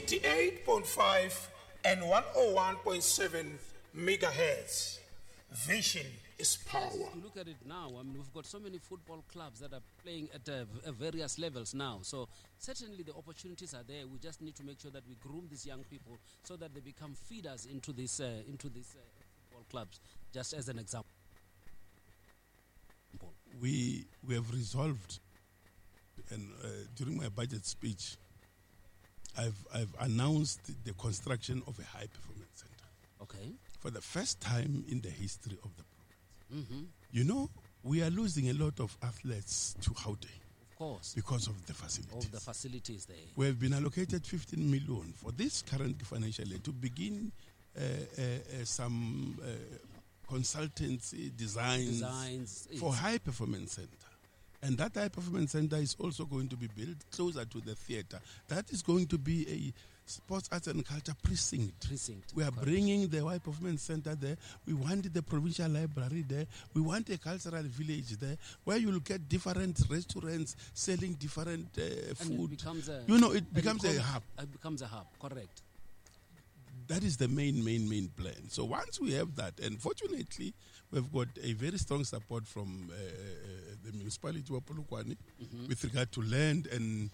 88.5 and 101.7 megahertz. Vision is power. You look at it now, I mean, we've got so many football clubs that are playing at various levels now. So certainly the opportunities are there. We just need to make sure that we groom these young people so that they become feeders into this football clubs, just as an example. We have resolved, and during my budget speech, I've announced the construction of a high performance center. Okay. For the first time in the history of the province. Mm-hmm. You know, we are losing a lot of athletes to Gauteng. Of course. Because of the facilities. Of the facilities there. We have been allocated 15 million for this current financial year to begin some consultancy designs for high performance center. And that high performance center is also going to be built closer to the theater. That is going to be a sports, arts and culture precinct. We are bringing the high performance center there. We want the provincial library there. We want a cultural village there where you'll get different restaurants selling different food. It becomes a, it becomes a hub. It becomes a hub, correct. That is the main plan. So once we have that, and fortunately, we've got a very strong support from the municipality of Polokwane mm-hmm. with regard to land and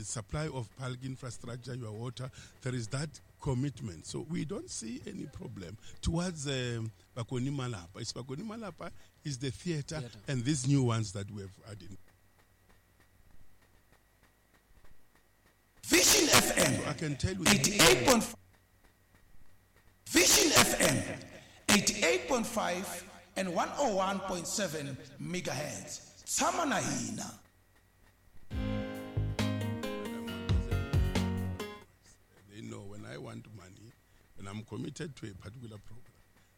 supply of bulk infrastructure, your water. There is that commitment. So we don't see any problem towards Bakoni Malapa. It's Bakoni Malapa is the theater and these new ones that we have added. Vision FM. So I can tell you 88.5. Vision FM, 88.5 and 101.7 megahertz. Tshama na hina. They know when I want money, when I'm committed to a particular program,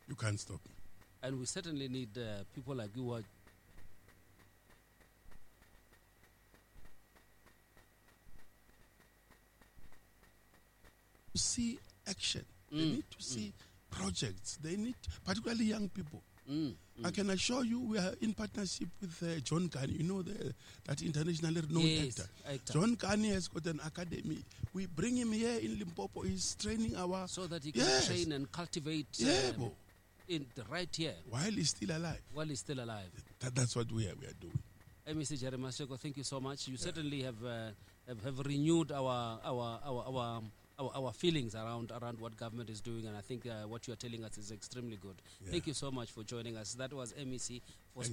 you can't stop me. And we certainly need people like you who are see action. They need to see projects. They need, particularly young people. I can assure you we are in partnership with John Kani. You know, that internationally renowned actor. John Kani has got an academy. We bring him here in Limpopo. He's training our... So that he can train and cultivate in the right here. While he's still alive. While he's still alive. That's what we are doing. MEC Jerry Maseko, thank you so much. You certainly have renewed our feelings around what government is doing, and I think what you are telling us is extremely good. Yeah. Thank you so much for joining us. That was MEC for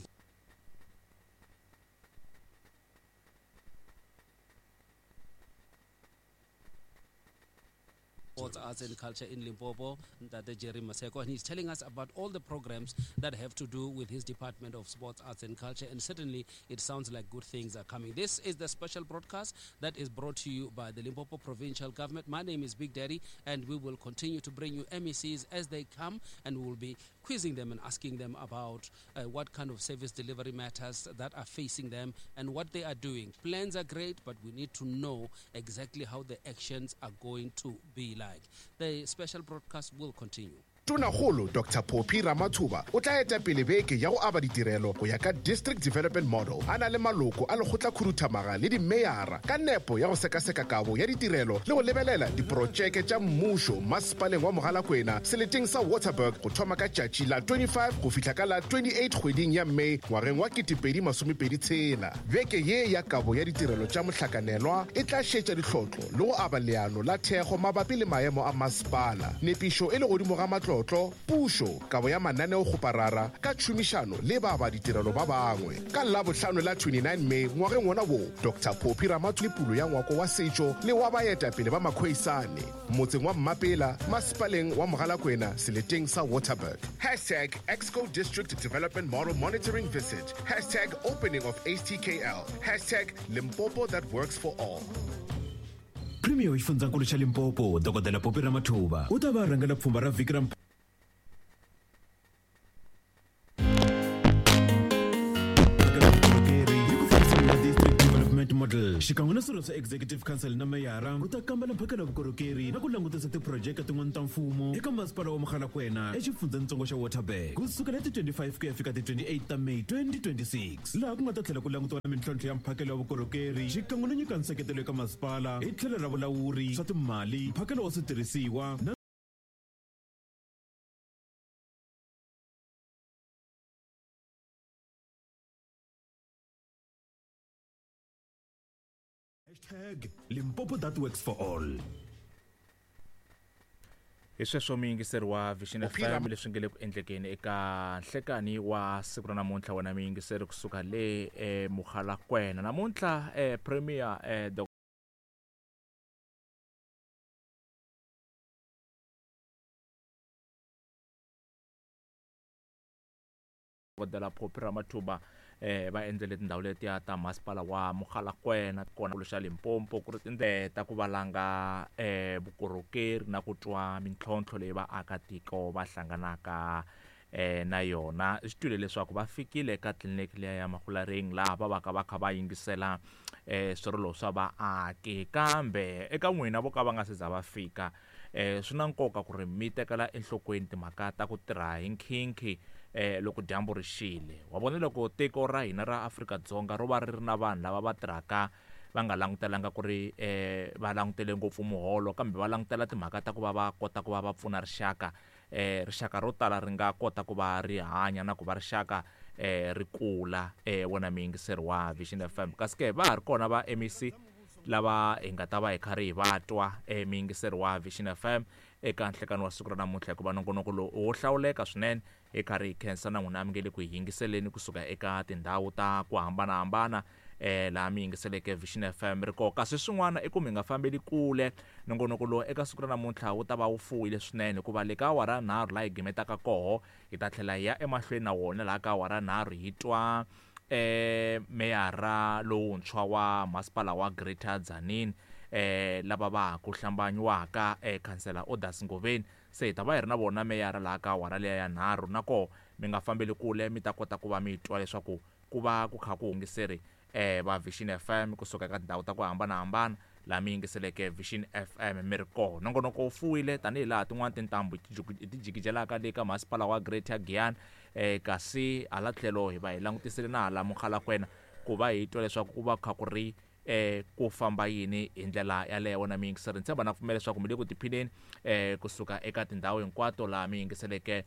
Sports, Arts and Culture in Limpopo, Ntate Jerry Maseko, and he's telling us about all the programs that have to do with his Department of Sports, Arts and Culture, and certainly it sounds like good things are coming. This is the special broadcast that is brought to you by the Limpopo Provincial Government. My name is Big Daddy, and we will continue to bring you MECs as they come, and we will be quizzing them and asking them about what kind of service delivery matters that are facing them and what they are doing. Plans are great, but we need to know exactly how the actions are going to be like. The special broadcast will continue. Tonakgolo Dr. Phophi Ramathuba o tla eta pele beke ya go aba ditirelo go ya ka District Development Model a na le maloko a lekgotlakhuduthamaga le dimeyara ka nepo ya go sekaseka kabo ya ditirelo le go lebelela diprotšeke tša mmušo masepaleng wa Mogalakwena seleteng sa Waterberg go thoma ka tšatši la 25 go fihla ka la 28 kgweding ya May ngwageng wa 2026. Beke ye ya kabo ya ditirelo tša mohlakanelwa e tla šetša dihlotlo le go aba leano la thekgo mabapi le maemo a masepala. Nepišo e le godimo ga matlo pušo kabo ya mananeo kgoparara ka tšhomišano le ba ba ditirelo ba bangwe. Ka Labohlano la 29 May ngwageng wona wo, Dr. Phophi Ramathuba pulo ya ngwako wa setšo le wa baetapele ba Makhoisane motseng wa Mmapela masepaleng wa Mogalakwena seleteng sa Waterberg. Hashtag Exco District Development Model Monitoring Visit. Hashtag Opening of HTKL. Hashtag Limpopo that works for all. Premier wa xifundzankulu xa Limpopo Dr. Phophi Ramathuba u ta va rhangela pfhumba ra vhiki ra District Development Model. xikan'we na swirho swa Executive Council na meyara ku ta kambela mphakelo wa vukorhokeri na ku langutisa tiphurojeke tin'wana ta mfumo eka masipala wa Mogalakwena exifundzhenitsongo xa Waterberg ku sukela hi ti 25 ku ya fika ti 28 ta May 2026, laha ku nga ta tlhela ku langutiwa na mintlhontlho ya mphakelo wa vukorhokeri xikan'we no nyika nseketelo eka masipala hi tlhelo ra vulawuri, swa timali, mphakelo wa switirhisiwa na Hashtag Limpopo that works for all. Hi sweswo muyingiseri wa Vision FM leswi nge le ku endlekeni eka nhlekani wa siku ra namuntlha, wena muyingiseri kusuka le Mogalakwena. Namuntlha Premier Dokodela Phophi Ramathuba va endzele tindhawu letiya ta masipala wa Mogalakwena kona xa Limpopo ku ri tindlela ta ku valanga vukorhokeri na ku twa mintlhontlho leyi vaakatiko va hlanganaka na yona. Swi twile leswaku va fikile eka tliliniki liya ya Mahulareng laha va vaka va kha va yingisela swirilo swa vaaki, kambe eka n'wina vo ka va nga se za va fika swi na nkoka ku ri mi tekela enhlokweni timhaka ta ku tirha hi nkhinkhi loko dyambu ri xile. Wa vona loko tiko ra hina ra Afrika-Dzonga ro va ri ri na vanhu lava va tirhaka va nga langutelanga ku ri va langutele ngopfu muholo, kambe va langutela timhaka ta ku va va kota ku va va pfuna rixaka, rixaka ro tala ri nga kota ku va ri hanya na ku va rixaka ri kula. Wona muyingiseri wa Vision FM, kasi ke va ha ri kona va MEC lava hi nga ta va hi karhi hi va twa muyingiseri wa Vision FM eka nhlekani wa siku ra namuntlha, hikuva nongonoko lowu wo hlawuleka swinene. Hi karhi hi khensa na n'wina mi nge le ku hi yingiseleni kusuka eka tindhawu ta ku hambanahambana laha mi yingiseleke Vision FM ri koho. Kasi swin'wana i ku mi nga fambeli kule, nongonoko lowu eka siku ra namuntlha wu ta va wu fuwile swinene, hikuva le ka awara nharhu laha hi gimetaka koho hi ta tlhela hi ya emahlweni na wona laha ka awara nharhu hi twa meyara lowuntshwa wa masipala wa Greater Tzaneen lava va ha ku hlambanyiwaka khansela Odas Ngoveni. Se hi ta va hi ri na vona meyara laha ka awara liya ya nharhu, na koho mi nga fambeli kule, mi ta kota ku va mi twa leswaku ku va ku kha ku hungiseri va Vision FM kusuka eka tindhawu ta ku hambanahambana laha mi yingiseleke Vision FM mi ri koho. Nongonoko wu fuwile tanihi laha tin'wana tintambu ti jikijelaka le ka masipala wa Greater Giyani, kasi hala tlhelo hi va hi langutisile na hala Mogalakwena ku va hi twa leswaku ku va kha ku ri ku famba yini hi ndlela yaleyo. Wona muyingiseri, ni tshemba na pfumela leswaku mi le ku tiphineni kusuka eka tindhawu hinkwato laha mi yingiseleke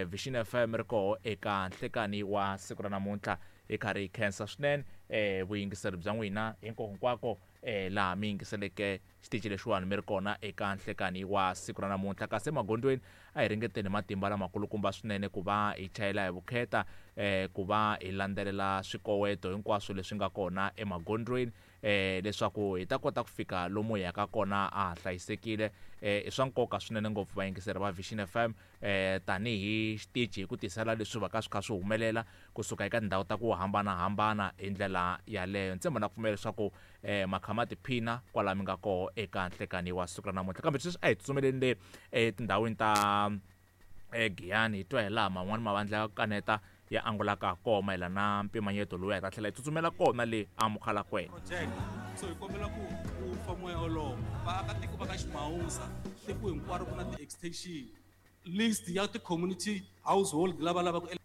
Vision FM ri koho eka nhlekani wa siku ra namuntlha. Hi karhi hi khensa swinene vuyingiseri bya n'wina hinkwako hinkwako laha mi yingiseleke xitichi lexiwani mi ri kona eka nhlekani wa siku ra namuntlha. Kasi emagondzweni a hi ringeteni matimba lamakulukumba swinene ku va hi chayela hi vukheta, ku va hi landzelela swikoweto hinkwaswo leswi nga kona emagondzweni leswaku hi ta kota ku fika lomu hi yaka kona a ha hlayisekile. I swa nkoka swinene ngopfu vayingiseri va Vision FM tanihi xitichi hi ku tisela leswi va ka swi kha swi humelela kusuka eka tindhawu ta ku hambanahambana hi ndlela yaleyo. Ni tshemba na ku pfumela leswaku makhama tiphina kwala mi nga koho eka nhlekani wa siku ra namuntlha. Kambe sweswi a hi tsutsumeleni le etindhawini ta Giyani hi twa hi laha man'wani mavandla ya ku kaneta ya angulaka koho mayelana na mpimanyeto lowu hi ta tlhela hi tsutsumela kona le aMogalakwena. Project so hi kombela ku ku fa moya wolowo vaakatiko va ka Ximawusa tiko hinkwaro ku na ti-extension list ya ti-community household lava lavaka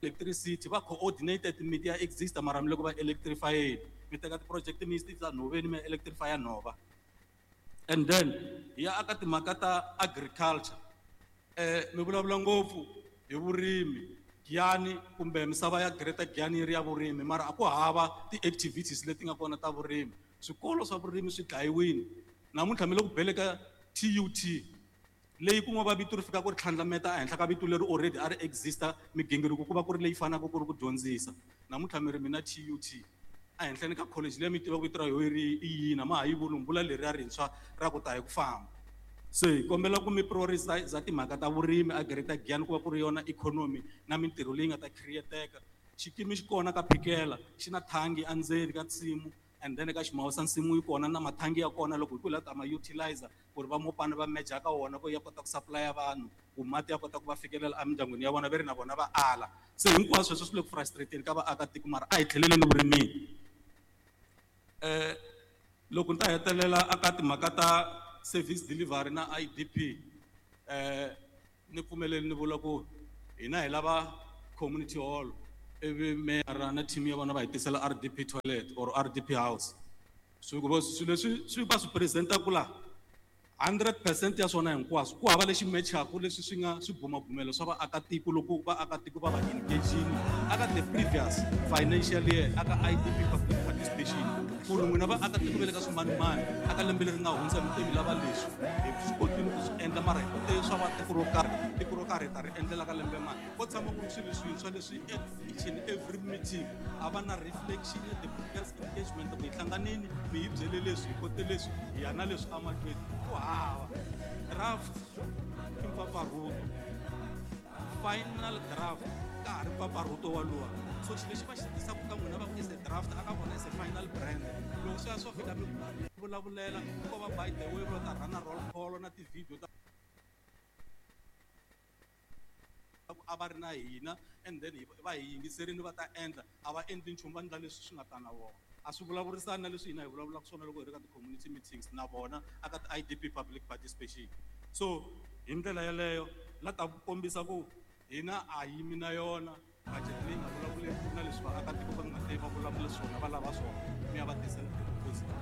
electricity va coordinated miti ya exista mara mi loko va electrifyeni mi teka ti-project mi yisa nhoveni mi ya electrifya nhova. And then hi ya aka timhaka ta agriculture, mi vulavula ngopfu hi vurimi Giyani kumbe misava ya Greater Giyani yi ri ya vurimi, mara a ku hava ti-activities leti nga kona ta vurimi. Swikolo swa vurimi swi dlayiwile namuntlha mi le ku bele ka TUT leyi ku nga va vito ri fika ku ri tlhandlameta ehenhla ka vito leri already a ri exista migingiriko ku va ku ri leyi fanaka ku ri ku dyondzisa. Namuntlha mi ri mina TUT ehenhleni ka college leyi mi tivaka vito ra yona ri i yini, a ma ha yi vuli vula leriya rintshwa ra ku ta hi ku famba. Se hi kombela ku mi prioritize timhaka ta vurimi a Greater Giyani ku va ku ri yona economy na mintirho leyi nga ta create-eka. Xikimi xi kona ka Phikela xi na thangi endzeni ka nsimu, and then ka Ximawusa nsimu yi kona na mathangi ya kona loko hi ku la ta ma utilize ku ri va mopana va meja ka wona ku ya kota ku supply vanhu ku mati ya kota ku va fikelela emindyangwini ya vona ve ri na vona va ala. Se hinkwaswo sweswo swi le ku frustrating ka vaakatiko, mara a hi tlheleleni vurimini. Loko ni ta hetelela aka timhaka ta service delivery na IDP, ni pfumeleli ni vula ku hina hi lava community hall, ivi meyara na team ya vona va hi tisela RDP toilet or RDP house. Swilo leswi swi va swi presentaku la 100% ya swona hinkwaswo ku hava lexi matchaku leswi swi nga swibumabumelo swa vaakatiko loko vaakatiko va va engagini aka the previous financial year aka IDP public participation, ku ri n'wina vaakatiko va le ka swimanimani aka lembe leri nga hundza mi te mi lava leswi, hi swi kotile ku swi endla mara hi kote swa va tiko ro karhi, tiko ro karhi hi ta ri endlela ka lembe mani. Ko tshama ku ri swilo swintshwa leswi each and every meeting a va na reflection ya the previous engagement, ku hi hlanganini mi hi byele leswi, hi kote leswi, hi ya na leswi emahlweni. Ku hava draft i mpfapfarhuto, final draft ka ha ri mpfapfarhuto waluwa. So xilo lexi va xi tisaka ka n'wina va ku is a draft, aka vona is a final brand. Loko swi ya swo fika mi vulavulela ko va by the way va ta rhana roll call na ti-video ta a va ri na hina, and then va hi yingiserini va ta endla, a va endli nchumu, va endla leswi swi nga ta na vona. A swi vulavurisani na leswi hina hi vulavulaka swona loko hi ri ka ti-community meetings na vona aka ti-IDP public participation. So hi ndlela yeleyo la ta kombisa ku hina a yimi na yona budget leyi nga vulavuleki na leswi vaakatiko va nga te va vulavula swona va lava swona, mi ya va tisela